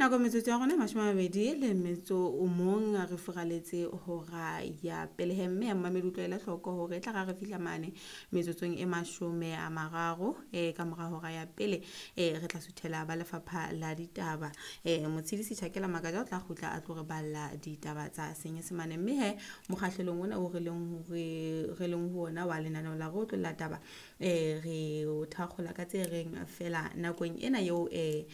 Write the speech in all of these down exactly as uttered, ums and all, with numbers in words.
Nako metsotso ya rona e mashome a mabedi le metso o mong re furaletse hora ya pelehe, mme ya mmamedi utlwela hloko hore e tla ra re fihla mane metsotsong e mashome a mararo e ka mora hora ya pele e re tla suthela ba lefapha la ditaba. E Motshidisi Tjhakela Makaja o tla kgutla a tlo re balla ditaba tsa Senyesemane, mme he mokgahlelong ona o re leng re re leng ho ona wa lenaneo la re otlolla taba e re o thakgola ka tse reng fela nakong ena eo e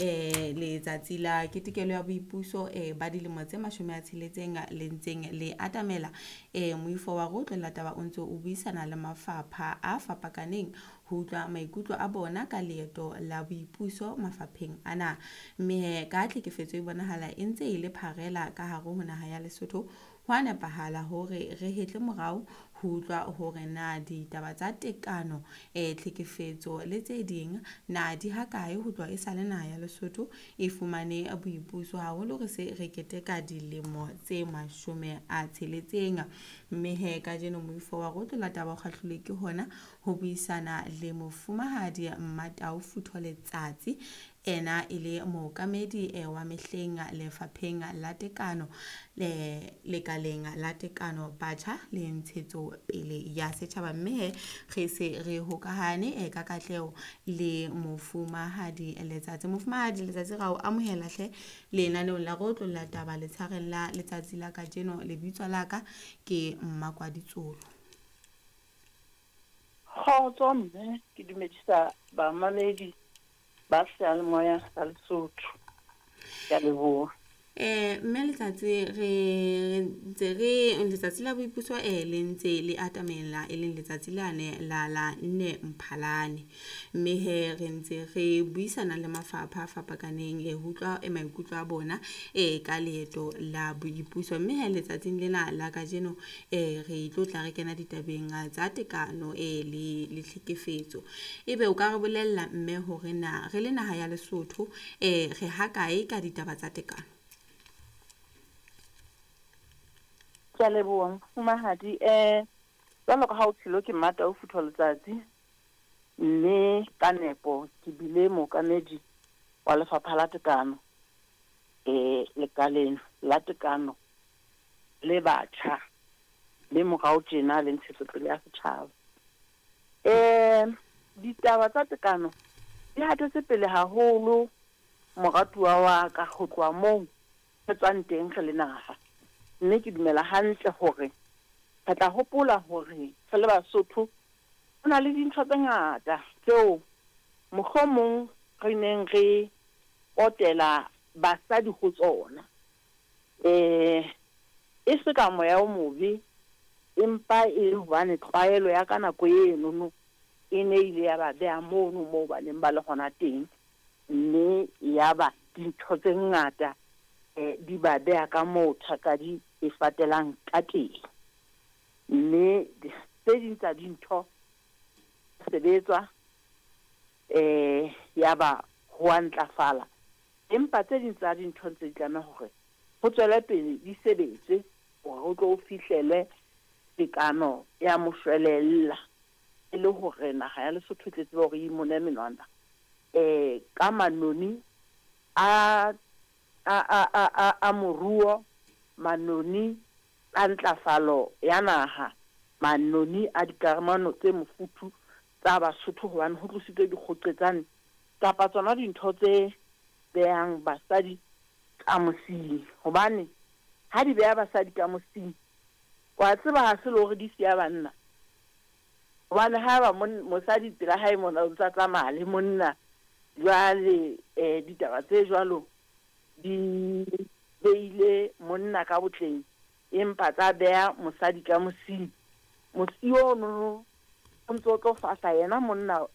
eh letsatsi la ketekelo ya boipuso eh ba dilemo tse mashome a tsheletseng le ntseng le atamela, eh moifo wa re otlolla taba o ntse o buisana le mafapha a fapakaneng ho utlwa maikutlo a bona ka leeto la boipuso mafapheng ana. Mme ka tlhekefetso e bonahala e ntse e le pharela ka hare ho naha ya Lesotho, ho a nepahala hore re hetle morao ho utlwa hore na ditaba tsa tekano eh tlhekefetso le tse ding na di hakae ho tloha e sale naha ya Lesotho e fumane boipuso, haholo re se re keteka dilemo tse mashome a tsheletseng. Mme he kajeno moifo wa re otlolla taba o kgahlilwe ke hona ho buisana le mofumahadi Mmatau Futho Letsatsi, ena e le mookamedi eh, wa mehleng lefapheng la tekano le lekaleng la tekano batjha le ntshetso pele ya setjhaba. Mme he re se re hokahane eh, ka katleho le mofumahadi Letsatsi. Mofumahadi Letsatsi, ra o amohela hle lenaneong la re otlolla taba letshareng la letsatsi la kajeno. Lebitso la ka ke Mmakwaditsolo. Kgotso mme, ke dumedisa bamamedi ba seyalemoya sa Lesotho. Ke a leboha. Eh mme Letsatsi, re ntse re letsatsi la boipuso eh le ntse le atamela, e leng letsatsi lane la la nne Mphalane, mme he re ntse re buisana le mafapha a fapakaneng eh ho utlwa eh, maikutlo a bona eh ka leeto la boipuso. Mme he letsatsing lena la kajeno eh re tlo tla re kena ditabeng tsa tekano eh le le tlhekefetso. Ebe o ka re bolella mme hore na re le naha ya Lesotho eh re hakae ka ditaba tsa tekano? Ke a leboha mofumahadi. Eh jwalo ka ha o tshilo, ke Mmatau Futho Letsatsi, mme ka nepo ke bile mookamedi wa lefapha la tekano eh lekaleng la tekano le batjha le morao tjena le ntshetsopele ya setjhaba. Eh ditaba tsa tekano di hatetse pele haholo moratuwa wa ka ho tloha moo re tswang teng re le naha. Mme ke dumela hantle hore re tla hopola hore re le Basotho ho na le dintho tse ngata tseo mohlomong re neng re potela basadi ho tsona. Eh e se ka moya o mobe, empa e le hobane tlwaelo ya ka nako enono e ne ile ya ba beha mono moo ba neng ba le hona teng, mme ya ba dintho tse ngata eh di ba beha ka moo thakadi e fatelang ka teng. Mme tse ding tsa dintho sebetswa eh ya ba ho a ntlafala, empa tse ding tsa dintho ntse di tlameha hore ho tswele pele di sebetswe hore ho tlo fihlelwe tekano ya moshwelella, e le hore naha ya Lesotho e tle tsebe hore e imone menwana eh ka manoni a a a a a a moruo, manoni a ntlafalo ya naha, manoni a dikamano tse mofuthu tsa Basotho, hobane ho tlositswe dikgoqetsane kapa tsona dintho tse behang basadi ka mosing. Hobane ha di beha basadi ka mosing, wa tseba ha se le hore di siya banna, hobane ha eba mosadi pela hae mona o ntsa tsamaya le monna, jwale eh ditaba tse jwalo di beile monna ka botleng, empa tsa beha mosadi ka mosing. Mosi ono o ntso tlo fahla yena monna